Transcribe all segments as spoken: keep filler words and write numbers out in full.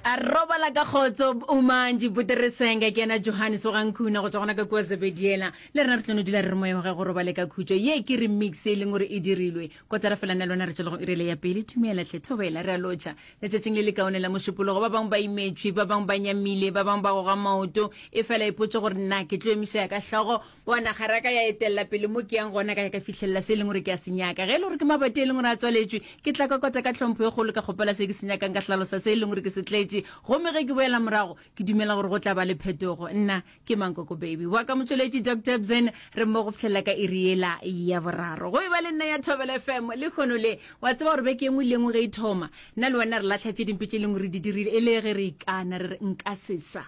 A robala ka kgotso Umantši Puteresenge ke yena Johannes wa Gankhuna go tšwa gona ka kua Zebediela. Le rena re tlo no dula re re moya wa gagwe go robale ka khutšo. Ye ke remix e leng gore e dirilwe. Kotara fela nna le wena re tšwele go irele ya pele. Tumela hle thobela re a lotšha. Letšatšing le le kaone la Mošupologo ba bangwe ba imetšwe, ba bangwe ba nyamile, ba bangwe ba goga maoto. Efela ipotše gore nna ke tlo emiša ya ka hlogo Bona, ga ra ka ya etelela pele mo ke yang gona, ka ya ka fihlelela se e leng gore ke a se nyaka. Ge e le gore ke mabati a e leng gore a tswaletšwe, ke tla kokota ka tlhompho e kgolo, ka kgopela se ke se nyakang, ka hlalosa se e leng gore ke se tletše. Gomme ge ke boela morago, ke dumela gore go tla ba le phetogo. Nna ke Mankoko Baby wa ka motšweletši Doctor Bzen, re mmogo go fihlelela ka iri yela ya boraro. Go e ba le nna ya Thobela F M lehono le. Wa tseba gore beke e nngwe le e nngwe ge e thoma, nna le wena re lahla tše dimpe tše e leng gore re di dirile, e le ge re ikana re re nka se sa.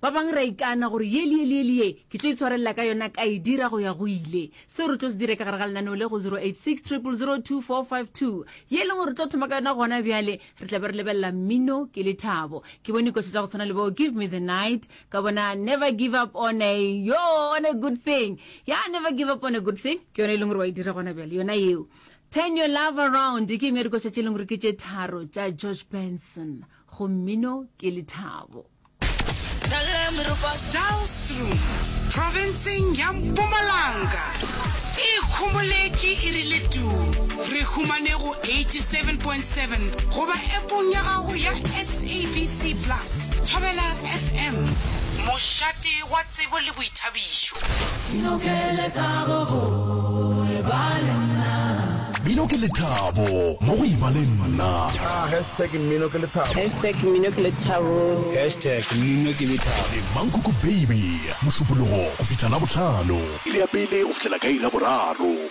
Ba bangwe re a ikana gore ye le ye le ye le ye ke tlo itshwarelela ka yona ka e dira go ya go ile. Seo re tlo se dira ka gare ga lenaneo le go zero eight six triple zero two four five two ye e leng gore re tlo thoma ka yona gona bjale. Re tla be re lebelela mmino ke lethabo. Ke bone dikoša tša go tshwana le bo Give Me the Night, ka bona Never Give Up on a yo on a Good Thing. Ya Never Give Up on a Good Thing ke yona e leng gore wa e dira gona bjale yona yeo. Turn Your Love Around ke engwe ya dikoša tše e leng gore ke tše tharo tša George Benson go mmino ke lethabo. Dullstroom, profenseng ya Mpumalanga, e ikhomoletše e rile tuu. Re humane go eighty seven point seven goba appong ya gago ya S A B C Plus. Thobela F M, mošate wa tsebo le boithabišo. Mmino ke lethabo go eba le nna. Mmino ke lethabo mo go eba le nna. Ah, hashtag mmino ke lethabo. Hashtag mmino ke lethabo. Hashtag mmino ke lethabo. Le Mankoko Baby, Mošupologo go fihla Labohlano. Iri ya pele go fihlela ka iri ya boraro.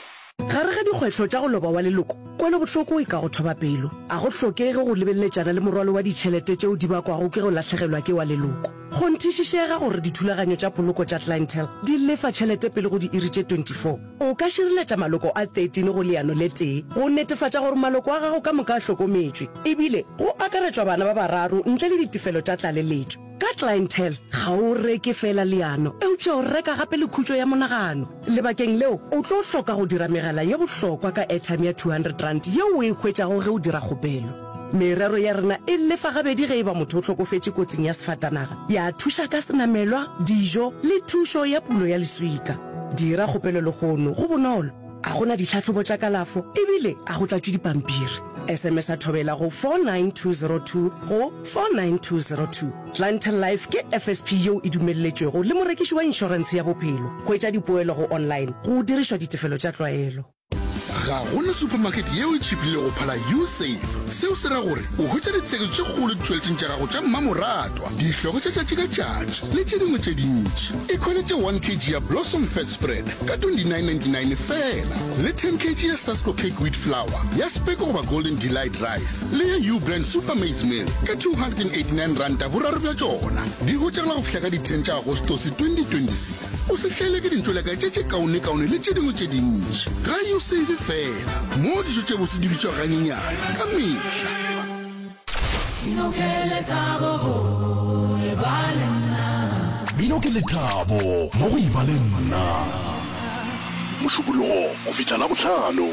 Gare ga dikgwetlho tša go loba wa leloko, kwelobohloko e ka go thoba pelo. A go hlokege go lebeletšana le morwalo wa ditšhelete tšeo di bakwago ke go lahlegelwa ke wa leloko. Kgonthišišega gore dithulaganyo tša poloko tša Clientele di lefa tšhelete pele go diiri tše twenty four O ka šireletša maloko a thirteen go leano le tee go netefatša gore maloko a gago ka moka a hlokometšwe, ebile go akaretšwa bana ba bararo ntle le ditefelo tša tlaleletšo. Ka Clientele, ga o reke feela leano, eupša o reka gape le khutšo ya monagano. Lebakeng leo, o tlo hloka go dira megala ye bohlokwa ka airtime ya two hundred rand yeo o e hwetšago ge o dira kgopelo. Merero ya rena e lefa gabedi ge e ba motho o hlokofetše kotsing ya sefatanaga, ya thuša ka senamelwa, dijo le thušo ya pulo ya leswika. Dira kgopelo lehono, go bonolo, a go na ditlhahlobo tša kalafo ebile a go tlatšwe dipampiri. S M S-a Thobela go four nine two zero two go four nine two zero two. Clientele Life ke F S P yeo e dumelletšwego le morekiši wa inšorentshe ya bophelo. Hwetša dipoelo go online go dirišwa ditefelo tša tlwaelo. Ga go na supermarket yeo e tšhiphilego go phala Usave. Seo se ra gore o hwetša ditsheketšo tše kgolo ditšweletšing tša gago tša mmamoratwa, dihlogo tša tšatši ka tšatši le tše dingwe tše dintši. Ikhweletše one kg ya Blossom Fat Spread ka twenty-nine ninety-nine feela le ten kg ya Sasko Cake Wheat Flour ya Speke goba Golden Delight Rice le ya U-Brand Super Maize Meal ka two hundred and eighty-nine ranta boraro bja tšona. Di hwetšagala go fihla ka di ten tša Agostose twenty twenty-six. O se hlaelwe ke dintšoleka tše tše kaonekaone le tše dingwe tše dintši. Ga U save fela, moo dijo tše bose di bitšwago ganyenyane ka mehla. Mmino ke lethabo go eba le nna. Mmino ke lethabo mo go eba le nna. Mošupologo go fihla Labohlano.